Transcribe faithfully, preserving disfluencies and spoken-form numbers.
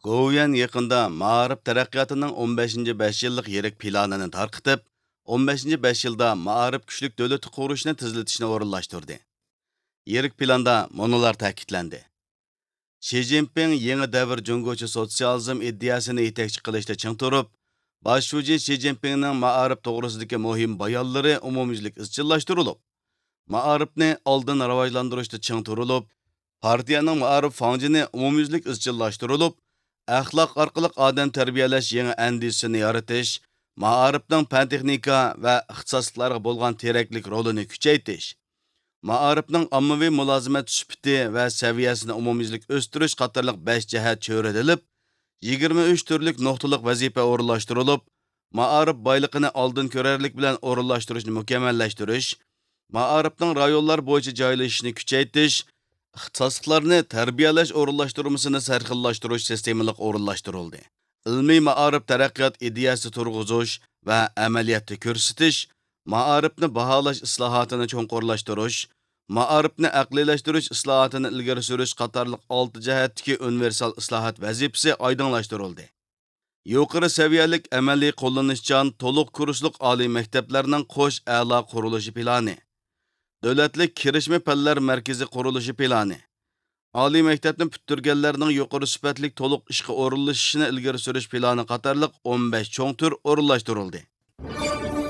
گوۋۇيۈەن يېقىندا مائارىپ تەرەققىياتىنىڭ ئون بەشىنچى بەش يىللىق يىرىك پىلانىنى تارقىتىپ، ئون بەشىنچى بەش يىلدا مائارىپ كۈچلۈك دۆلىتى قۇرۇشنى تېزلىتىشنى ئورۇنلاشتۇردى. يىرىك پىلاندا مۇنۇلار تەكىتلەندى. شى جىنپىڭ يېڭى دەۋر جۇڭگوچە سوتسىيالىزم ئىدىيەسىنى يېتەكچى قىلىشتا چىڭ تۇرۇپ، باش شۇجى شى جىنپىڭنىڭ مائارىپ توغرىسىدىكى مۇھىم بايانلىرى ئومۇميۈزلۈك ئىزچىللاشتۇرۇلۇپ، مائارىپنى ئالدىن راۋاجلاندۇرۇشتا چىڭ تۇرۇلۇپ، پارتىيەنىڭ مائارىپ فاڭجېنى ئومۇميۈزلۈك ئىزچىللاشتۇرۇلۇپ، ئەخلاق ئارقىلىق ئادەم تەربىيەلەش يېڭى ئەندىزىسىنى يارىتىش، مائارىپنىڭ پەن-تېخنىكا ۋە ئىختىساسلىقلارغا بولغان تېرەكلىك رولىنى كۈچەيتىش، مائارىپنىڭ ئاممىۋى مۇلازىمەت سۈپىتى ۋە سەۋىيەسىنى ئومۇميۈزلۈك ئۆستۈرۈش قاتارلىق بەش جەھەت چۆرىدىلىپ، يىگىرمە ئۈچ تۈرلۈك نۇقتىلىق ۋەزىپە ئورۇنلاشتۇرۇلۇپ، مائارىپ بايلىقىنى ئالدىن كۆرەرلىك بىلەن ئورۇنلاشتۇرۇشنى مۇكەممەللەشتۈرۈش، مائارىپنىڭ رايونلار بويىچە جايلىشىشىنى كۈچەيتىش، ئىختىساسلىقلارنى تەربىيەلەش ئورۇنلاشتۇرمىسىنى سەرخىللاشتۇرۇش سىستېمىلىق ئورۇنلاشتۇرۇلدى. ئىلمىي مائارىپ تەرەققىيات ئىدىيەسى تۇرغۇزۇش ۋە ئەمەلىيەتتە كۆرسىتىش، مائارىپنى باھالاش ئىسلاھاتىنى چوڭقۇرلاشتۇرۇش، مائارىپنى ئەقلىيلەشتۈرۈش ئىسلاھاتىنى ئىلگىرى سۈرۈش قاتارلىق ئالتە جەھەتتىكى ئۇنىۋېرسال ئىسلاھات ۋەزىپىسى ئايدىڭلاشتۇرۇلدى. يۇقىرى سەۋىيەلىك ئەمەلىي قوللىنىشچان تولۇق كۇرسلۇق ئالىي مەكتەپلەرنىڭ قوش ئەلا قۇرۇلۇشى پىلانى، دۆلەتلىك كىرىشمە پەنلەر مەركىزى قۇرۇلۇشى پىلانى، ئالىي مەكتەپنى پۈتتۈرگەنلەرنىڭ يۇقىرى سۈپەتلىك تولۇق ئىشقا ئورۇنلىشىشىنى ئىلگىرى سۈرۈش پىلانى قاتارلىق ئون بەش چوڭ تۈر ئورۇنلاشتۇرۇلدى.